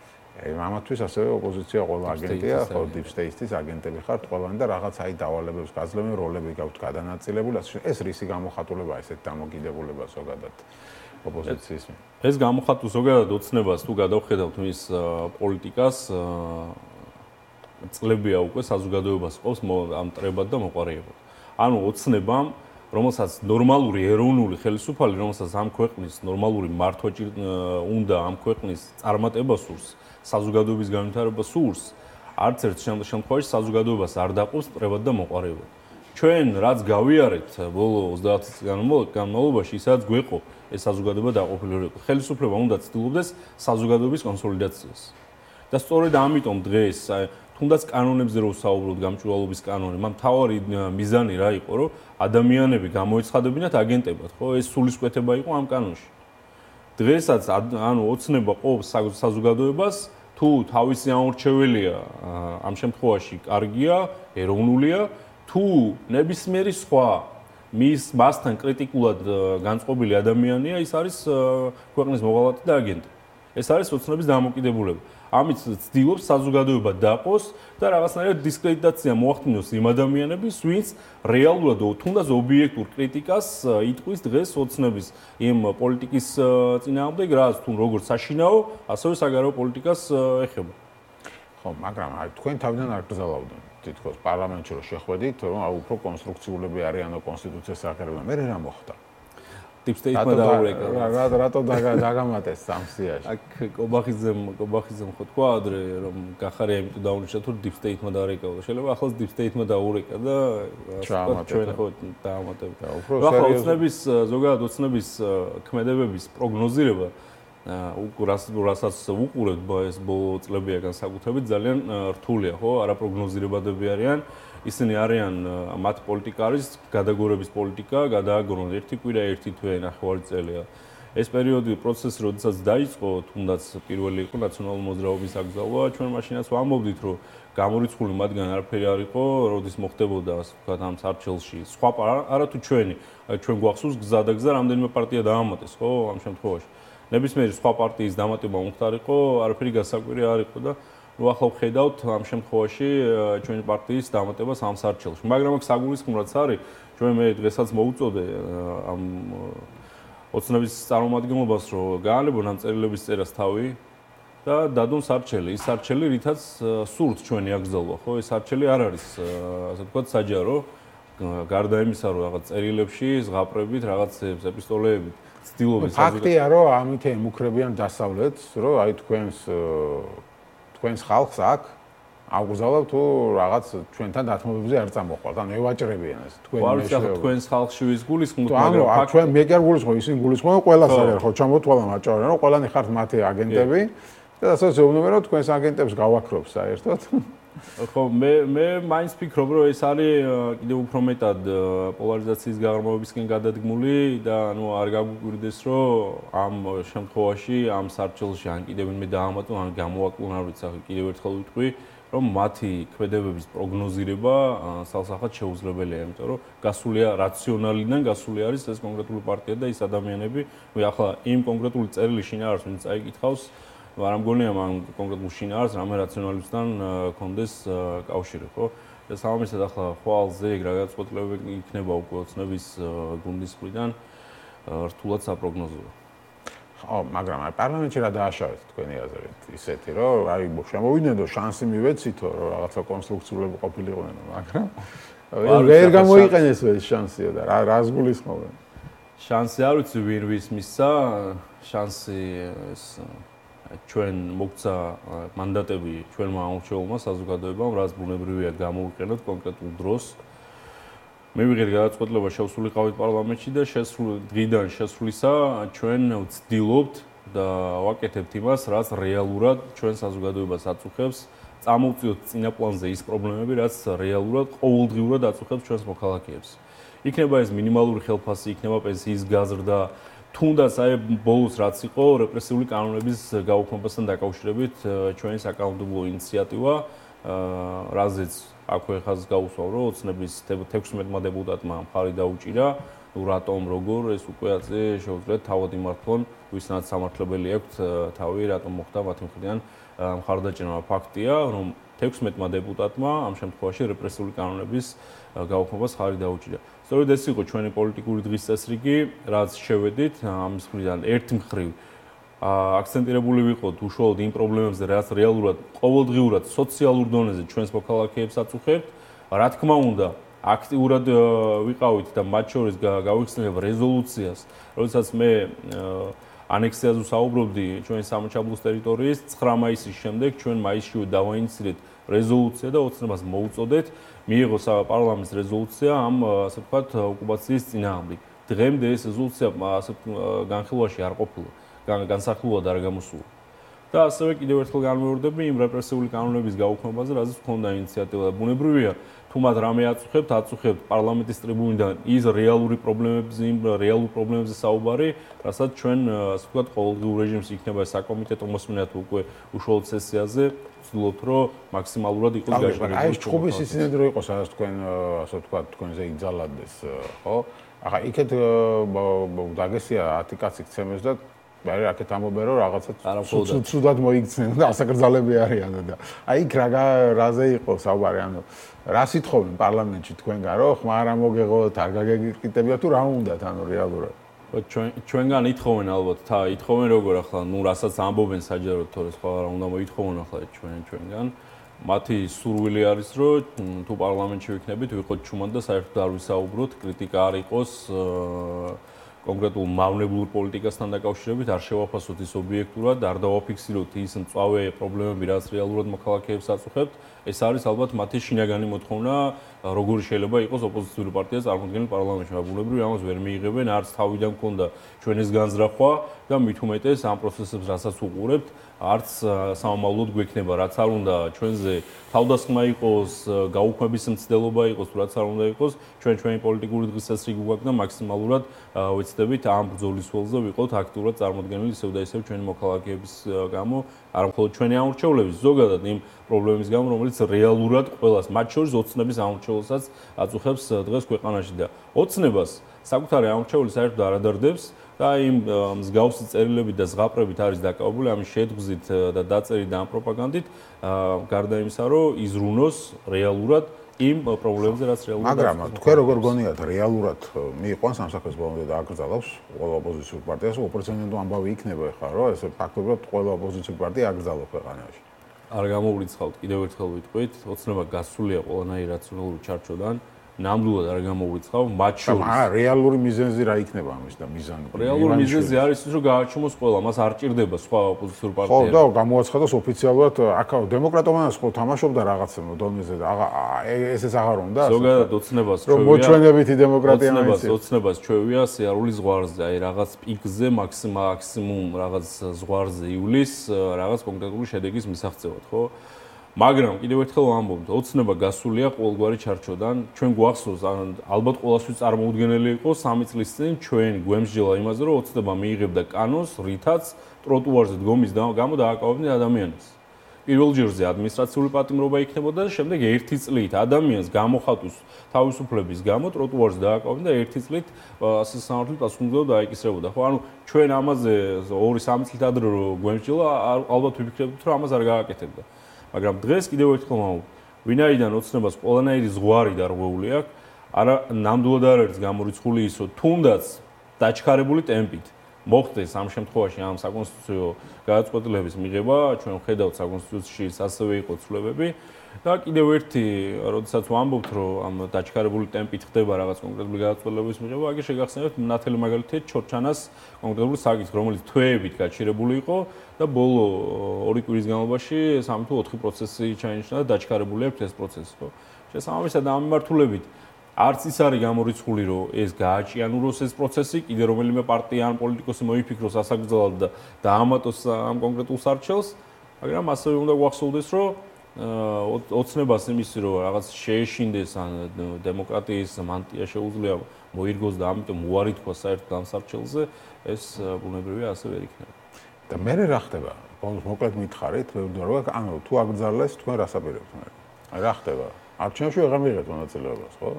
ამათთვის ასევე ოპოზიცია ყველა აგენტია, ხო, Deep State-ის აგენტები ხართ ყველანი და რაღაც აი დავალებებს გაძლევენ, როლები გაქვთ გადანაწილებული, ეს რისი გამოხატულებაა ესეთ დამოკიდებულება ზოგადად. ოპოზიციის. ეს გამოხატულ ზოგადად ოცნებას თუ გადავხედავთ მის პოლიტიკას წლებია უკვე საზოგადოებას ყავს ამ ტრებად და მოყარებად. ანუ ოცნებამ, რომელსაც ნორმალური ეროვნული ხელისუფალი, რომელსაც ამ ქვეყნის ნორმალური მართვა უნდა ამ ქვეყნის წარმატება სურს, საზოგადოების განვითარება სურს, არც ერთ შემთხვევაში საზოგადოებას არ დაყობს ტრებად და მოყარებად. ჩვენ რაც გავიარეთ ბოლო 30 წლის განმავლობაში, ისაც გვეყო ეს საზოგადოება დაყოფილი. ხელისუფლება უნდა ცდილობდეს საზოგადოების კონსოლიდაციას. და სწორედ ამიტომ დღეს თუნდაც კანონებზე რო ვსაუბრობთ, გამჭვირვალობის კანონი, მან მთავარი მიზანი რა იყო, რომ ადამიანები გამოეცხადებინათ აგენტებად, ხო? ეს სულისკვეთება იყო ამ კანონში. დღესაც ანუ ოცნება ყოფს საზოგადოებას, თუ თავისი ამორჩეველია ამ შემთხვევაში კარგია, ეროვნულია, თუ ნებისმიერი სხვა მასთან კრიტიკულად განწყობილი ადამიანია, ის არის ქვეყნის მოღალატე და აგენტი. ეს არის ოცნების დამოკიდებულება. ამით ცდილობს საზოგადოება დაყოს და რაღაცნაირად დისკრედიტაცია მოახდინოს იმ ადამიანების, ვინც რეალურად თუნდაც ობიექტურ კრიტიკას იტყვის დღეს ოცნების იმ პოლიტიკის წინააღმდეგ, რაც თუ როგორც საშინაო, ასევე საგარეო პოლიტიკას ეხება. ხო, მაგრამ აი თქვენ თავიდან არ გზავავდნენ. თითქოს პარლამენტში რო შეხვედით, რომ აი უფრო კონსტრუქციულები არიანო კონსტიტუციას აღერებენ. მე რა მოხდა? Deep State-მა დაურეკა. რატო დაგამატეს სამსიაში? აქ კობახიძემ ხო თქვა ადრე რომ გახარია იმიტომ დაუნიშნა თუ Deep State-მა დაურეკა. შეიძლება ახალს Deep State-მა დაურეკა და ჩვენ ხო დაამატებთ. ახლა ოცნების ზოგადად ოცნების ქმედებების პროგნოზირება რასაც უყურებთ ეს ბოლო წლებია განსაკუთრებით ძალიან რთულია, ხო? არაპროგნოზირებადები არიან. ისინი არიან მათ პოლიტიკა არის გადაგორების პოლიტიკა, გადააგრონ ერთი კვირა, ერთი თვე, ნახევარი წელია. ეს პერიოდი პროცესი, როდესაც დაიწყო, თუნდაც პირველი იყო ნაციონალური მოძრაობის აკრძალვა, ჩვენ მაშინაც ვამბობდით, რომ გამორიცხული მათგან არაფერი არ იყო, როდის მოხდებოდა, ასე ვთქვათ, ამ სარჩელში. სხვა არა თუ ჩვენ გვახსოვს გზა და გზა რამდენიმე პარტია დაამატეს, ხო, ამ შემთხვევაში. ნებისმიერი სხვა პარტიის დამატება მომხდარიყო, არაფერი გასაკვირი არ იყო და ნუ ახლა ვხედავთ ამ შემთხვევაში ჩვენი პარტიის დამატებას ამ სარჩელში. მაგრამ აქ საგულისხმოა არის, ჩვენ მე დღესაც მოუწოდე ამ ოცნების წარმომადგენლობას, რომ გაანებონ ამ წერილების წერას თავი და დადონ სარჩელი. ის სარჩელი, რითაც სურთ ჩვენი აკრძალვა, ხო? ეს სარჩელი არ არის, ასე ვთქვათ, საჯარო. გარდა იმისა, რომ რაღაც წერილებში ზღაპრებით, რაღაც ეპისტოლეებით ცდილობენ ფაქტია, რომ ამით ემუქრებიან დასავლეთს, რომ აი თქვენს ხალხს აქ აუგზავნებთ თუ რაღაც ჩვენთან დათმობებზე არ წამოყვართ. ანუ ევაჭრებიან ეს თქვენი მეშვეობა. თქვენს ხალხში ვის გულისხმობთ, მაგრამ აქ ჩვენ მე კი არ გულისხმობ, ისინი გულისხმობენ ყველას არის ხო ჩამოთვალა მაჭავენ, რომ ყველანი ხართ მათი აგენტები და ასე ზეუბნებენ, რომ თქვენს აგენტებს გავაქრობ საერთოდ. ხო, მე მაინც ვფიქრობ, რომ ეს არის კიდევ უფრო მეტად პოლარიზაციის გაღრმავებისკენ გადადგმული და ანუ არ გაგვიკვირდეს, რომ ამ შემთხვევაში ამ სარჩელში ან კიდევ ვინმე დაამატონ, ან გამოვაკლონ, არ ვიცი, კიდევ ერთხელ ვიტყვი, რომ მათი ქმედებების პროგნოზირება სალსახად შეუძლებელია, იმიტომ რომ გასულია რაციონალიდან, გასული არის ეს კონკრეტული პარტია და ის ადამიანები, ახლა იმ კონკრეტული წერილი შინაარსს ვინც წაიკითხავს, არ მგონია მან კონკრეტულ შინაარსს რამე რაციონალისტთან კონდეს კავშირი, ხო? და სამომისად ახლა ხვალზე ეგ რა გადაწყვეტილებები იქნება უკვე ოცნების გუნდის მხრიდან რთულად საპროგნოზოა. ხო, მაგრამ აი პარლამენტში რა დააშავეთ თქვენი აზრით ისეთი, რომ აი შემოვიდნენ და შანსი მივეცითო, რომ რაღაცა კონსტრუქციულები ყოფილიყვნენ, მაგრამ ვერ გამოიყენეს ეს შანსია და რას გულისხმობენ? შანსი არ ვიცი ვინ ვის მისცა, შანსი ეს ჩვენ მოგცა მანდატები ჩვენმა ამორჩეულმა საზოგადოებამ, რაც ბუნებრივია გამოვიყენოთ კონკრეტულ დროს. მივიღეთ გადაწყვეტილება შევსულიყავით პარლამენტში და დღიდან შესვლისა ჩვენ ვცდილობთ და ვაკეთებთ იმას, რაც რეალურად ჩვენ საზოგადოებას აწუხებს, წამოვწიოთ წინა პლანზე ის პრობლემები, რაც რეალურად ყოველდღიურად აწუხებს ჩვენს მოქალაქეებს. იქნება ეს მინიმალური ხელფასი, იქნება პენსიის გაზრდა, თუნდაც აი ბოლოს რაც იყო რეპრესიული კანონების გაუქმებასთან დაკავშირებით ჩვენი საკანონმდებლო ინიციატივა, რაზეც აქვე ხაზს გაუსვავ, რომ ოცნების 16-მა დეპუტატმა მხარი დაუჭირა, რატომ როგორ ეს უკვე ასე შეუძლიათ თავად იმართონ, ვისაც სამართლებელი აქვთ თავი, რატომ მოხდა მათი მხრიდან მხარდაჭერა. ფაქტია, რომ 16-მა დეპუტატმა ამ შემთხვევაში რეპრესიული კანონების გაუქმებას მხარი დაუჭირა. სწორედ ეს იყო ჩვენი პოლიტიკური დღის წესრიგი, რაც შევედით ამის მხრიდან ერთი მხრივ აქცენტირებული ვიყოთ უშუალოდ იმ პრობლემებზე, რაც რეალურად ყოველდღიურად სოციალურ დონეზე ჩვენს მოქალაქეებს აწუხებთ. რა თქმა უნდა, აქტიურად ვიყავით და მათ შორის გავიხსენებ რეზოლუციას, როდესაც მე ანექსიაზე ვსაუბრობდი ჩვენი სამოჩაბლოს ტერიტორიის 9 მაისის შემდეგ ჩვენ მაისშივე დავაინიცირეთ რეზოლუცია და ოცნებას მოუწოდეთ მიიღო პარლამენტის რეზოლუცია ამ ასე ვთქვათ ოკუპაციის წინააღმდეგ. დღემდე ეს რეზოლუცია ასე განხილვაში არ ყოფილა, განსახლულად არ გამოსულა. და ასევე კიდევ ერთხელ განმეორდები იმ რეპრესიული კანონების გაუქმებაზე, რაზეც ჰქონდა ინიციატივა და ბუნებრივია, თუ მათ რამე აწუხებთ პარლამენტის ტრიბუნიდან ის რეალურ პრობლემებზე საუბარი, რასაც ჩვენ ასე ვთქვათ ყოველდღიურ რეჟიმში იქნება საკომიტეტო მოსმენა თუ უკვე უშუალოდ სესიაზე, ვცდილობთ რომ მაქსიმალურად იყოს გაშენებული. აი ეს ჭუბის ისინი რო იყოს, სადაც თქვენ ასე ვთქვათ თქვენზე იგზალადეს, ხო? ახლა იქეთ დაგესია 10 კაცი ქცემეს და მაგრამ აქეთ ამობენ რომ რაღაცა ცუდად მოიქცნენ და ასაკრძალები არიან და აი იქ რაზე იყო საუბარი, ანუ რა სიტყვენ პარლამენტში თქვენგან რომ ხმა არ მოგეღოთ, არ გაგეკრიტებია თუ რა უნდათ, ანუ რეალურად ჩვენგან ითხოვენ ალბათ, ითხოვენ როგორ ახლა, რასაც ამბობენ საჯაროდ, თორე სხვა რა უნდა მოითხოვონ ახლა ჩვენგან. მათი სურვილი არის, რომ თუ პარლამენტში ვიქნებით, ვიყოთ ჩუმად და საერთოდ არ ვისაუბროთ, კრიტიკა არ იყოს კონკრეტულ მავნებლურ პოლიტიკასთან დაკავშირებით, არ შევაფასოთ ის ობიექტურად, არ დავაფიქსიროთ ის მწვავე პრობლემები, რაც რეალურად მოქალაქეებს აწუხებთ. ეს არის ალბათ მათი შინაგანი მოთხოვნა, როგორი შეიძლება იყოს ოპოზიციური პარტია წარმოქმნილი პარლამენტში. ბუნებრივია, ამას ვერ მიიღებენ, არც თავიდან მქონდა ჩვენს განზრახვა და მით უმეტეს ამ პროცესებს, რასაც უყურებთ, არც სამომავლოდ გვექნება, რაც არ უნდა ჩვენზე თავდასხმა იყოს, გაუქმების მცდელობა იყოს, რაც არ უნდა იყოს, ჩვენი პოლიტიკური დღის წესრიგი გვაქვს და მაქსიმალურად ვეცდებით ამ ბრძოლის ველზე ვიყოთ აქტიურად წარმოდგენილი ისევ და ისევ ჩვენი მოქალაქეების გამო, არა მხოლოდ ჩვენი ამორჩეულების, ზოგადად იმ პრობლემის გამო, რომელიც რეალურად ყველას, მათ შორის ოცნების ამორჩეულსაც აწუხებს დღეს ქვეყანაში და ოცნებას საკუთარი ამორჩეული საერთოდ არ ადარდებს და იმ მსგავსი წერილებით და ზღაპრებით არის დაკავებული ამის შედგზით და დაწერით და ამ პროპაგანდით, გარდა იმისა, რომ იზრუნოს რეალურად იმ პრობლემებზე, რაც რეალურად მაგრამ თქვენ როგორ გონიათ რეალურად მიიყვანს ამ საქმეს ბოლომდე და აკრძალავს ყველა ოპოზიციურ პარტიას, უპრეცედენტო ამბავი იქნება ხა, რომ ეს ფაქტობრივად ყველა ოპოზიციურ პარტია აკრძალავს ქვეყანაში. არ გამოვრიცხავთ, კიდევ ერთხელ ვიტყვით, ოცნება გასულია ყველანაირი რაციონალური ჩარჩოდან. ნამდვილად არ გამოვრიცხავ, მათ შორის რეალური მიზეზი რა იქნება ამის და მიზანი? რეალური მიზეზი არის ის, რომ გააჩუმოს ყველა, მას არ ჭირდება სხვა ოპოზიციურ პარტიებს. ხო, და გამოაცხადოს ოფიციალურად, აქ დემოკრატოვანას ხო თამაშობდა რაღაცა დონეზე და ესეც აღარ უნდა. ზოგადად ოცნებას ჩვევია. რომ მოჩვენებითი დემოკრატია არის. ოცნებას ჩვევია სიარულის ზღვარზე, აი რაღაც პიკზე, მაქსიმუმ რაღაც ზღვარზე ივლის, რაღაც კონკრეტული შედეგის მისაღწევად, ხო? მაგრამ კიდევ ერთხელ ვამბობთ, ოცნება გასულია ყოველგვარი ჩარჩოდან. ჩვენ გვახსოვს, ალბათ ყველასთვის წარმოუდგენელი იყო 3 წლის წინ ჩვენ გვემსჯელა იმაზე, რომ ოცნება მიიღებდა კანონს, რითაც ტროტუარზე დგომის გამო დააკავებდნენ ადამიანებს. პირველ ჯერზე ადმინისტრაციული პატიმრობა იქნებოდა და შემდეგ 1 წლით ადამიანს გამოხატვის თავისუფლების გამო ტროტუარზე დააკავებდნენ და 1 წლით ასე სამართლით პასუხისმგებლობა დაეკისრებოდა. ხო, ანუ ჩვენ ამაზე 2-3 წლით ადრე რომ გვემსჯელა, ალბათ ვიფიქრებდით, რომ ამას არ გააკეთებდა. მაგრამ დღეს კიდევ ერთხელ ვამბობ, ვინაიდან ოცნებას ყველანაირი ზღვარი დარღვეული აქვს, არა ნამდვილად არ არის გამორიცხული ის, რომ თუნდაც დაჩქარებული ტემპით მოხდეს ამ შემთხვევაში ამ საკონსტიტუციო გადაწყვეტილების მიღება, ჩვენ ვხედავთ საკონსტიტუციაში ასევე იყო ცვლილებები და კიდევ ერთი, როდესაც ვამბობთ, რომ ამ დაჩქარებული ტემპით ხდება რაღაც კონკრეტული გადაწყვეტილების მიღება, აქ შეგახსენებთ ნათელი მაგალითად ჩორჩანას კონკრეტული საკითხი, რომელიც თვეებით გაჩერებული იყო და ბოლო 2 კვირის განმავლობაში 3 თუ 4 პროცესი ჩაინიშნა და დაჩქარებული აქვს ეს პროცესი, ხო? შესაბამისად ამ მიმართულებით არც ის არის გამორიცხული, რომ ეს გააჭიანუროს ეს პროცესი, კიდე რომელიმე პარტია ან პოლიტიკოსი მოიფიქროს ასაკრძალად და დაამატოს ამ კონკრეტულ სარჩელს, მაგრამ ასევე უნდა გვახსოვდეს, რომ ოცნებას იმისი, რომ რაღაც შეეშინდეს ან დემოკრატიის მანტია შეუძლია მოირგოს და ამიტომ უარი თქვა საერთოდ ამ სარჩელზე, ეს ბუნებრივია ასე ვერ იქნება. და მე რა ხდება? მოკლედ მითხარით, რომ ანუ თუ აკრძალეს, თქვენ რას აპირებთ მე? რა ხდება? არჩევნებში ვეღარ მიიღეთ მონაწილეობას, ხო?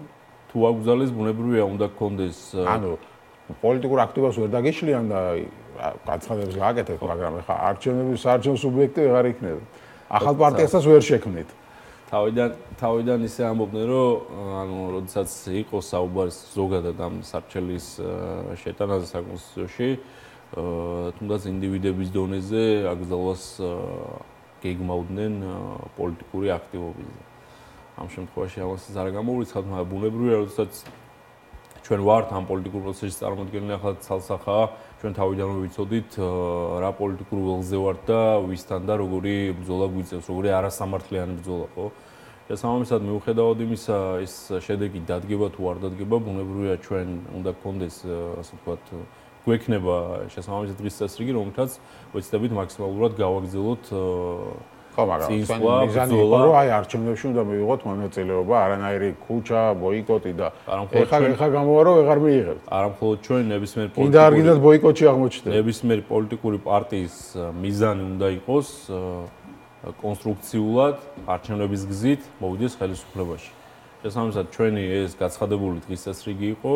თუ აკრძალეს, ბუნებრივია უნდა გქონდეს ანუ პოლიტიკურ აქტივობას ვერ დაგიშლიან და გაცხადებს გააკეთეთ, მაგრამ ეხა არჩევნების საარჩევნო სუბიექტი ვეღარ იქნება. ახალ პარტიასაც ვერ შექმნით. თავიდან ისე ამბობდნენ, რომ ანუ როდესაც იყო საუბარი ზოგადად ამ სარჩელის შეტანაზე საკონსტიტუციაში, თუნდაც ინდივიდების დონეზე აკრძალვას გეგმავდნენ პოლიტიკური აქტივობაზე. ამ შემთხვევაში ამასაც არ გამოვრიცხავთ, მაგრამ ბუნებრივია, როდესაც ჩვენ ვართ ამ პოლიტიკურ პროცესში წარმოდგენილი ახლა ცალსახაა, ჩვენ თავიდანვე ვიცოდით რა პოლიტიკურ ველზე ვართ და ვისთან და როგორი ბრძოლა გვიწევს, როგორი არასამართლიანი ბრძოლა, ხო? შესაბამისად, მიუხედავად იმისა, ეს შედეგი დადგება თუ არ დადგება, ბუნებრივია ჩვენ უნდა გქონდეს, ასე ვთქვათ, გვექნება შესაბამისი დღის წესრიგი, რომელთაც ვეცდებით მაქსიმალურად გავაგრძელოთ ხო, მაგრამ მიზანი იყო, რომ აი არჩევნებში უნდა მივიღოთ მონაწილეობა, არანაირი ქუჩა, ბოიკოტი და ეხა გამოვა, რომ ვეღარ მიიღებთ. არა მხოლოდ ჩვენ ნებისმიერ კიდე არ გინდათ ბოიკოტში აღმოჩნდეთ. ნებისმიერი პოლიტიკური პარტიის მიზანი უნდა იყოს კონსტრუქციულად არჩევნების გზით მოვიდეს ხელისუფლებაში. შესაბამისად, ჩვენი ეს გაცხადებული დღის წესრიგი იყო,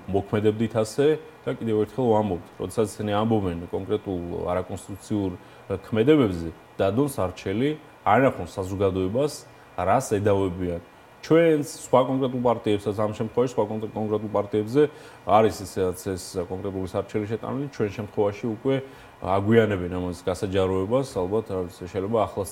მოქმედებდით ასე და კიდევ ერთხელ ვამბობთ, როდესაც ისინი ამბობენ კონკრეტულ არაკონსტიტუციურ ქმედებებზე, დადონ სარჩელი, არ ნახონ საზოგადოებას, რას ედავებიან. ჩვენს სხვა კონკრეტულ პარტიებსაც ამ შემთხვევაში სხვა კონკრეტულ პარტიებზე არის ისედაც ეს კონკრეტული სარჩელი შეტანილი, ჩვენ შემთხვევაში უკვე აგვიანებენ ამას გასაჯაროებას, ალბათ შეიძლება ახლა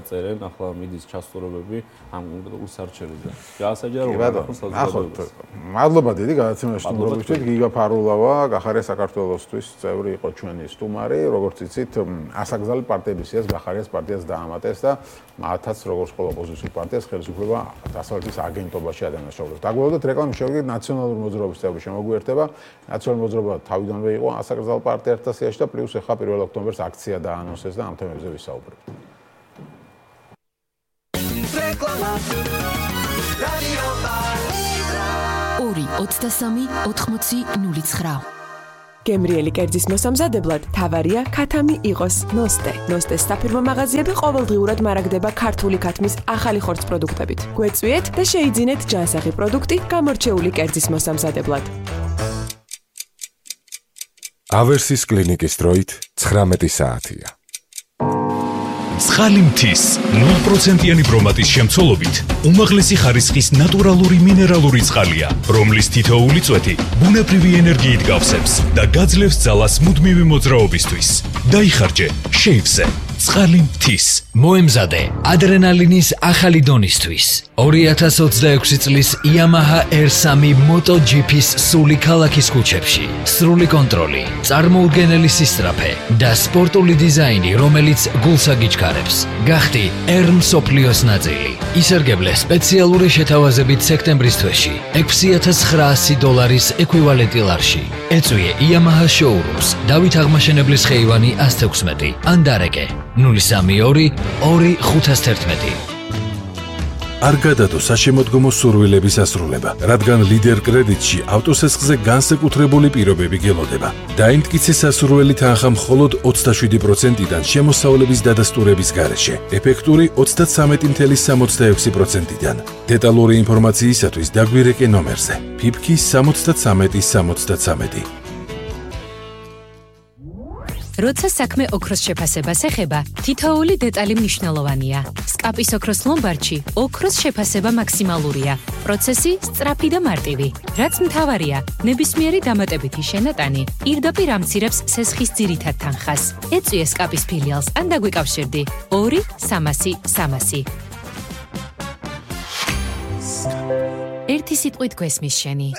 წერენ, ახლა მიდის ჩასწორებები ამ კონკრეტულ სარჩელზე. გასაჯაროებას საზოგადოებას. მადლობა დიდი გადაცემაში სტუმრობისთვის. გიგა ფარულავა, გახარია საქართველოსთვის წევრი იყო ჩვენი სტუმარი, როგორც იცით, ასაკრძალი პარტიების სიას გახარიას პარტიას დაამატეს და მათაც როგორც ყველა ოპოზიციურ პარტიას ხელისუფლება დასავლეთის აგენტობაში ადანაშაულებს. დაგვეოდოთ რეკლამის შემდეგ ნაციონალური მოძრაობის წევრი შემოგვიერთება. ნაციონალური მოძრაობა თავიდანვე იყო ასაკრძალ პარტიათა სიაში და პლუს 1 ოქტომბერს აქცია დაანონსეს და ამ თემებზე ვისაუბრებთ. რეკლამა რადიო პალიტრა 2-23-80-09 გემრიელი კერძის მოსამზადებლად თავარია ქათამი იყოს ნოსტე. ნოსტეს საფირმო მაღაზიები ყოველდღიურად მარაგდება ქართული ქათმის ახალი ხორცს პროდუქტებით. გვეწვიეთ და შეიძინეთ ჯანსაღი პროდუქტი გამორჩეული კერძის მოსამზადებლად. ავერსის კლინიკის დროით 19 საათია. ცხალი მთის 0%-იანი ბრომატის შემცველობით უმაღლესი ხარისხის ნატურალური მინერალური წყალია, რომლის თითოეული წვეთი ბუნებრივი ენერგიით გავსებს და გაძლევს ძალას მუდმივი მოძრაობისთვის. დაიხარჯე შეივზე ცხალი მთის. მოემზადე ადრენალინის ახალი დონისთვის. 2026 წლის Yamaha R3 MotoGP-ს სული ქალაქის ქუჩებში. სრული კონტროლი, წარმოუდგენელი სისწრაფე და სპორტული დიზაინი, რომელიც გულს აგიჩქარებს. გახდი R მსოფლიოს ნაწილი. ისერგებლე სპეციალური შეთავაზებით სექტემბრის თვეში $6,900 ეკვივალენტი ლარში. ეწვიე Yamaha showrooms, დავით აღმაშენებლის ხეივანი 116 ან დარეკე 032-2511. არ გადადო საშემოდგომო სურვილების ასრულება, რადგან ლიდერ კრედიტში ავტოსესხზე განსაკუთრებული პირობები გელოდება. დაიმტკიცე სასურველი თანხა მხოლოდ 27%-დან შემოსავლების დადასტურების გარეშე, ეფექტური 33.66%-დან. დეტალური ინფორმაციისათვის დაგვირეკე ნომერზე: PIPK 73 73. როცა საქმე ოქროს შეფასებას ეხება, თითოეული დეტალი მნიშვნელოვანია. სკაპის ოქროს ლომბარდში ოქროს შეფასება მაქსიმალურია. პროცესი სწრაფი და მარტივი. რაც მთავარია, ნებისმიერი დამატებითი შენატანი პირდაპირ ამცირებს სესხის ძირითად თანხას. ეწვიე სკაპის ფილიალს ან დაგვიკავშირდი 2 300 300. ერთი სიტყვით გვესმის შენი.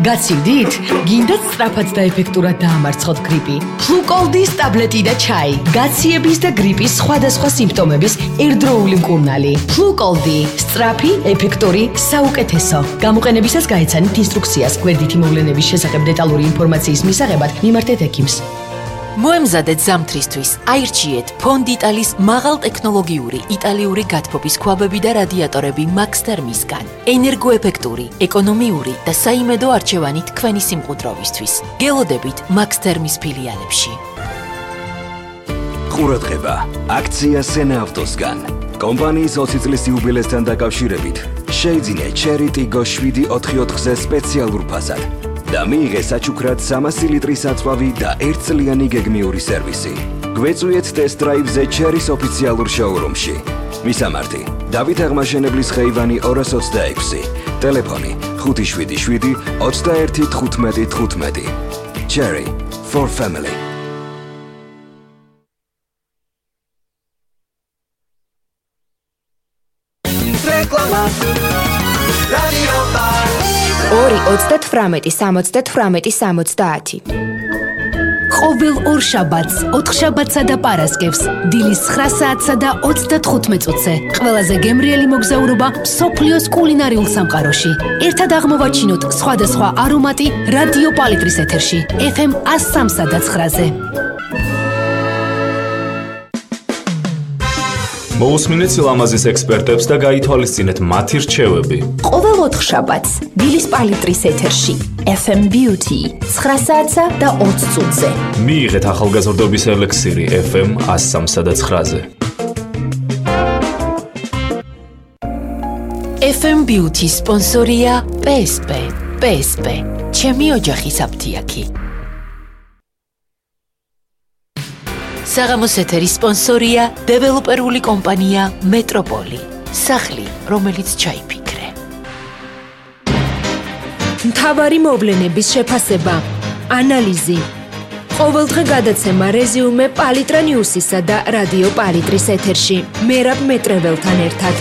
გაცივდით? გინდათ სწრაფად და ეფექტურად დაამარცხოთ გრიპი? ფლუკოლდის ტაბლეტი და ჩაი. გაციების და გრიპის სხვადასხვა სიმპტომების ერთდროული მკურნალი. ფლუკოლდი. სწრაფი, ეფექტური, საუკეთესო. გამოყენებისას გაეცანით ინსტრუქციას. გვერდითი მოვლენების შესახებ დეტალური ინფორმაციის მისაღებად მიმართეთ ექიმს. მოემზადეთ ზამთრისთვის. აირჩიეთ ფონდიტალის მაღალტექნოლოგიური იტალიური გათბობის ქვაბები და რადიატორები მაქსთერმისგან. ენერგოეფექტური, ეკონომიური და საიმედო არჩევანი თქვენი სიმყუდროვისთვის. გელოდებით მაქსთერმის ფილიალებში. ყურადღება, აქცია სენა ავტოსგან. კომპანიის 20 წლის იუბილესთან დაკავშირებით შეიძინე Cherry Tiggo 744-ზე სპეციალურ ფასად. და მიიღე საჩუქრად 300 ლიტრის აწვავი და 1 წლიანი გეგმიური სერვისი. გვეწვიეთ ტესტ დრაივზე Cherry-ს ოფიციალურ შოურუმში. მისამართი: დავით აღმაშენებლის ხეივანი 226. ტელეფონი 577 21 15 15. Cherry for family. რეკლამა. რადიო პალიტრი 2-38-70-70. ყოველ ორ შაბათს, 4 შაბათსა და პარასკევს, დილის 9 საათსა და 35 წუთზე, ყველაზე გემრიელი მოგზაურობა მსოფლიოს კულინარიულ სამყაროში. ერთად აღმოვაჩინოთ სხვადასხვა არომატი რადიო პალიტრის ეთერში, FM 103-სა და 9-ზე. მოусმინეთ სილამაზის ექსპერტებს და გაითვალისწინეთ მათი რჩევები. ყოველ 4 შაბათს დილის პალიტრის ეთერში FM Beauty 9 საათსა და 20 წუთზე. მიიღეთ ახალგაზრდობის ელექსირი FM 103-სა და 9-ზე. FM Beauty სპონსორია PSP. PSP. ჩემი ოჯახის აფთიაქი. საღამოს ეთერის სპონსორია დეველოპერული კომპანია მეტროპოლი. სახლი, რომელიც ჩაიფიქრე. მთავარი მოვლენების შეფასება, ანალიზი. ყოველდღე გადაცემა რეზიუმე პალიტრა ნიუსისა და რადიო პალიტრის ეთერში. მერაბ მეტრეველთან ერთად.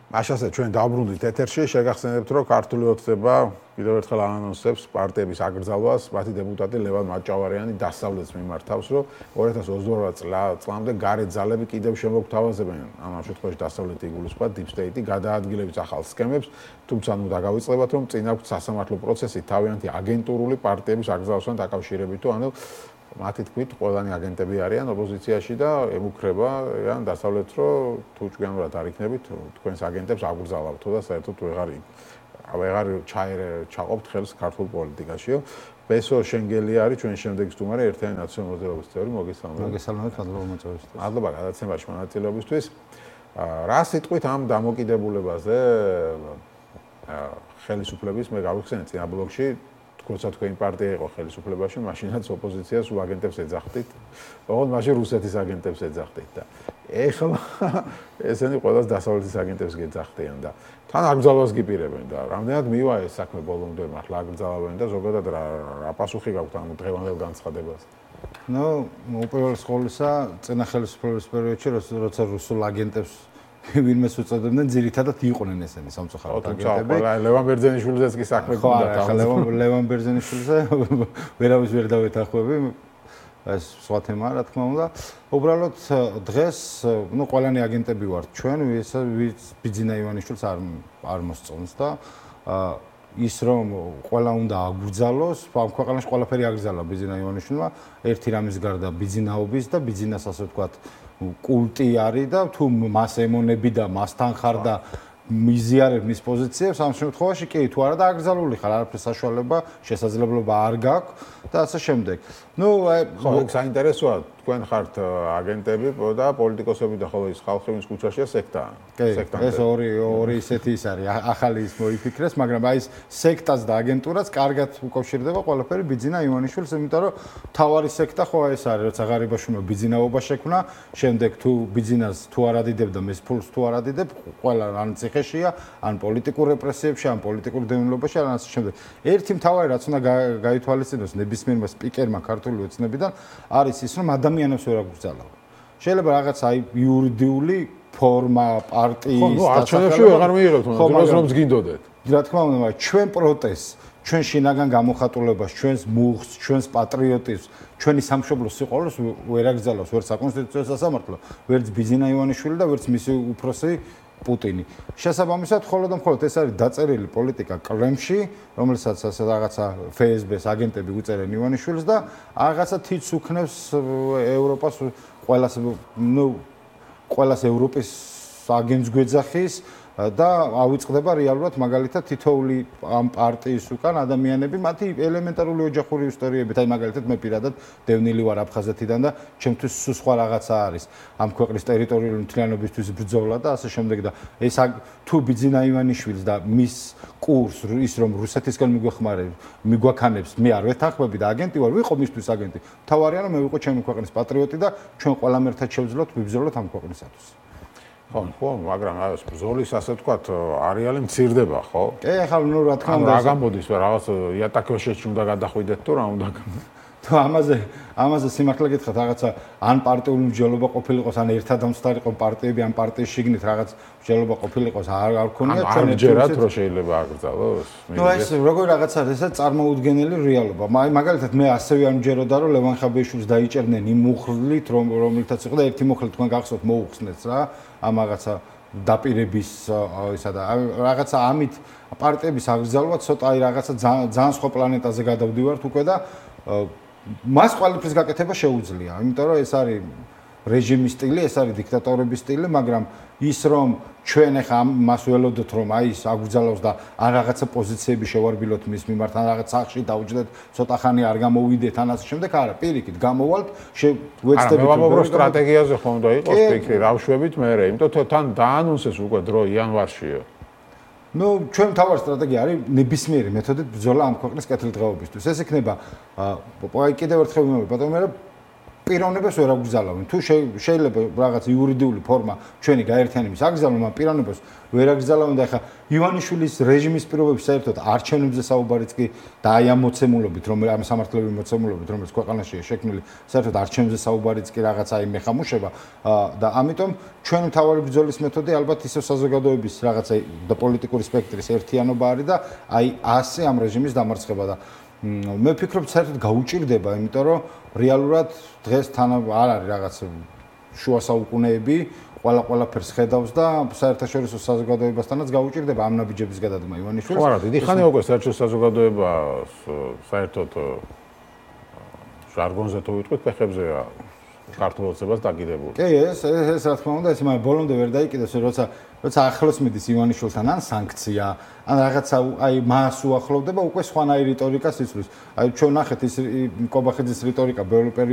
მაშასე ჩვენ დავბრუნდით ეთერში, შეგახსენებთ, რომ ქართული ოცნება კიდევ ერთხელ ანონსებს პარტიების აკრძალვას, მათი დეპუტატი ლევან მაჭავარიანი დასავლეთს მიმართავს, რომ 2028 წლამდე გარეთ ძალები კიდევ შემოგთავაზებენ, ამ შემთხვევაში დასავლეთი იგულისხმება Deep State-ი გადაადგილების ახალ სქემებს, თუმცა ნუ დაგავიწყდებათ, რომ წინ აქვს სასამართლო პროცესი თავიანთი აგენტურული პარტიების აკრძალვასთან დაკავშირებით, ანუ მათი თქმით, ყველანი აგენტები არიან ოპოზიციაში და ემუქრებიან დასავლეთს, რომ თუ ჭკვიანურად არ იქნებით, თქვენს აგენტებს აგრძალავთო და საერთოდ ვეღარ ჩაყოფთ ხელს ქართულ პოლიტიკაშიო. ბესო შენგელი არის ჩვენი შემდეგი სტუმარი, ერთიანი ნაციონალური მოძრაობის წევრი, მოგესალმებით. მოგესალმებით, მადლობა მოწვევისთვის. მადლობა გადაცემაში მონაწილეობისთვის. რა სიტყვით ამ დამოკიდებულებაზე ხელისუფლების მე გავიხსენე წინა ბლოკში როცა თქვენი პარტია იყო ხელისუფლებაში, მაშინაც ოპოზიციას უაგენტებს ეძახდით, ოღონდ მაშინ რუსეთის აგენტებს ეძახდით და ეხლა ესენი ყველას დასავლეთის აგენტებს გეძახდიან და თან აკრძალვას გიპირებენ და რამდენად მივა ეს საქმე ბოლომდე მართლა აკრძალავენ და ზოგადად რა პასუხი გაქვთ ამ დღევანდელ განცხადებას? ნუ უპირველეს ყოვლისა, წინა ხელისუფლების პერიოდში, როცა რუსულ აგენტებს ვინმეს უწოდებდნენ, ძირითადად იყვნენ ესენი სამწუხაროდ აგენტები. ლევან ბერძენიშვილზეც კი საქმე გქონდა. ხო, ლევან ბერძენიშვილზე ვერავის ვერ დავეთანხმები. ეს სხვა თემაა, რა თქმა უნდა. უბრალოდ დღეს, ნუ ყველანი აგენტები ვართ ჩვენ, ვიც ბიძინა ივანიშვილს არ მოსწონს და ის რომ ყველა უნდა აგრძალოს, ამ ქვეყანაში ყველაფერი აგრძალა ბიძინა ივანიშვილმა, ერთი რამის გარდა ბიძინაობის და ბიძინას ასე ვთქვათ კულტი არის და თუ მას ემონები და მასთან ხარ და მიზიარებ მის პოზიციებს, ამ შემთხვევაში კი თუ არა და აკრძალული ხარ, არაფრის საშუალება, შესაძლებლობა არ გაქვს და ასე შემდეგ. ნუ ხო, საინტერესოა თქვენ ხართ აგენტები და პოლიტიკოსები და ხოლო ის ხალხი ვინც კუჩაშია სექტაა. ეს ორი ისეთი ის არის, ახალი ის მოიფიქრეს, მაგრამ აი ეს სექტაც და აგენტურაც კარგად უკავშირდება ყველაფერი ბიძინა ივანიშვილს, იმიტომ რომ თავარი სექტა ხო ეს არის, როცა ღარიბაშვილმა ბიძინაობა შექმნა, შემდეგ თუ ბიძინას თუ არ ადიდებ და მის ფულს თუ არ ადიდებ, ყველა ან ციხეშია, ან პოლიტიკურ რეპრესიებში, ან პოლიტიკურ დევნილობაში, ან ასე შემდეგ. ერთი მთავარი რაც უნდა გაითვალისწინოს ნებისმიერმა სპიკერმა ქართული ოცნებიდან არის ის, რომ ადამიანებს ვერ აკრძალავ. შეიძლება რაღაც აი იურიდიული ფორმა პარტიის და არჩევნებში ვეღარ მიიღებთ, რომ გინდოდეთ. რა თქმა უნდა, მაგრამ ჩვენ პროტესტს, ჩვენ შინაგან გამოხატულებას, ჩვენს მუხს, ჩვენს პატრიოტიზმს, ჩვენი სამშობლოს სიყვარულს ვერ აკრძალავს ვერც საკონსტიტუციო სასამართლო, ვერც ბიძინა ივანიშვილი და ვერც მისი უფროსი პუტინი. შესაბამისად, მხოლოდ და მხოლოდ ეს არის დაწერილი პოლიტიკა კლემში, რომელსაც ასე რაღაცა FSB-ს აგენტები უწერენ ივანიშვილს და რაღაცა თითს უქნევს ევროპას ყველას ევროპის აგენტს გვეძახის და ავიწყდება რეალურად მაგალითად თითოეული ამ პარტიის უკან ადამიანები, მათი ელემენტარული ოჯახური ისტორიებით, აი მაგალითად მე პირადად დევნილი ვარ აფხაზეთიდან და ჩემთვის სხვა რაღაცა არის ამ ქვეყნის ტერიტორიული მთლიანობისთვის ბრძოლა და ასე შემდეგ და ეს თუ ბიძინა ივანიშვილს და მის კურს ის რომ რუსეთისგან მიგვაქანებს, მე არ ვეთანხმები და აგენტი ვარ, ვიყო მისთვის აგენტი. თავარია რომ მე ვიყო ჩემი ქვეყნის პატრიოტი და ჩვენ ყველამ ერთად შევძლოთ, ვიბრძოლოთ ამ ქვეყნისათვის. ხო, მაგრამ ეს ბრძოლის ასე ვთქვათ, არეალი მცირდება, ხო? კი, ახლა ნუ რა თქმა უნდა, რა გამოდის, რაღაც იატაკოშეში უნდა გადახვიდეთ თუ რა უნდა თუ ამაზე სიმართლე გითხრათ, რაღაცა ან პარტიული მსჯელობა ყოფილიყოს, ან ერთად ამსთარიყო პარტიები, ან პარტიის შიგნით რაღაც მსჯელობა ყოფილიყოს, არ ქონია ჩვენ ერთად რომ შეიძლება აკრძალოს. ნუ ეს როგორ რაღაც არის, ესა წარმოუდგენელი რეალობა. მაგალითად მე ასევე არ მჯეროდა რომ ლევან ხაბეიშვილს დაიჭერდნენ იმ მუხლით, რომელთაც იყო და ერთი მუხლი თქვენ გახსოვთ მოუხსნეს რა. ამ რაღაცა დაპირების ისა და რაღაცა ამით პარტიების აკრძალვა ცოტა აი რაღაცა ძალიან სხვა პლანეტაზე გადავდივართ უკვე და მას ყველაფრის გაკეთება შეუძლია, იმიტომ რომ ეს არის რეჟიმის სტილი, ეს არის დიქტატორების სტილი, მაგრამ ის რომ ჩვენ ახლა მას ველოდოთ რომ აი ის აკრძალავს და ან რაღაცა პოზიციები შევარბილოთ მის მიმართ, ან რაღაც სახში დავჯდეთ, ცოტა ხანი არ გამოვიდეთ, ან ასე შემდეგ, არა, პირიქით გამოვალთ, ვეცდებით რომ სტრატეგიაზე ხომ უნდა იყოს ფიქრი, რავშვებით მე, იმიტომ რომ თან დაანონსეს უკვე დრო იანვარშია. ნუ ჩვენ თავარი სტრატეგია არის ნებისმიერი მეთოდით ბრძოლა ამ ქვეყნის კეთილდღეობისთვის. ეს იქნება კიდევ ერთხელ ვიმეორებ, ბატონო, მე პიროვნებას ვერ აკრძალავენ. თუ შეიძლება რაღაც იურიდიული ფორმა ჩვენი გაერთიანების აკრძალვა, მაგრამ პიროვნებას ვერ აკრძალავენ და ახლა ივანიშვილის რეჟიმის პირობებში საერთოდ არჩევნებზე საუბარიც კი და აი ამ მოცემულობით, ამ სამართლებრივი მოცემულობით, რომელიც ქვეყანაშია შექმნილი, საერთოდ არჩევნებზე საუბარიც კი რაღაცა აი მეხამუშება და ამიტომ ჩვენი მთავარი ბრძოლის მეთოდი ალბათ ისევ საზოგადოების რაღაცა და პოლიტიკური სპექტრის ერთიანობა არის და აი ასე ამ რეჟიმის დამარცხება და მე ვფიქრობ, საერთოდ გაუჭირდება, იმიტომ რომ რეალურად დღეს თან არ არის რაღაც შუა საუკუნეები, ყველაფერს ხედავს და საერთაშორისო საზოგადოებასთანაც გაუჭირდება ამ ნაბიჯების გადადგმა ივანიშვილს. ხო, არა, დიდი ხანია უკვე საერთაშორისო საზოგადოება საერთოდ ჟარგონზე თუ ვიტყვით, ფეხებზეა ქართულ ოცნებას დაკიდებული. კი, ეს რა თქმა უნდა, ეს მაგრამ ბოლომდე ვერ დაიკიდეს, როცა ახლოს მიდის ივანიშვილთან ან სანქცია, ან რაღაცა აი მას უახლოვდება, უკვე სხვანაირი რიტორიკას იცვლის. აი ჩვენ ნახეთ ის კობახიძის რიტორიკა ბევრი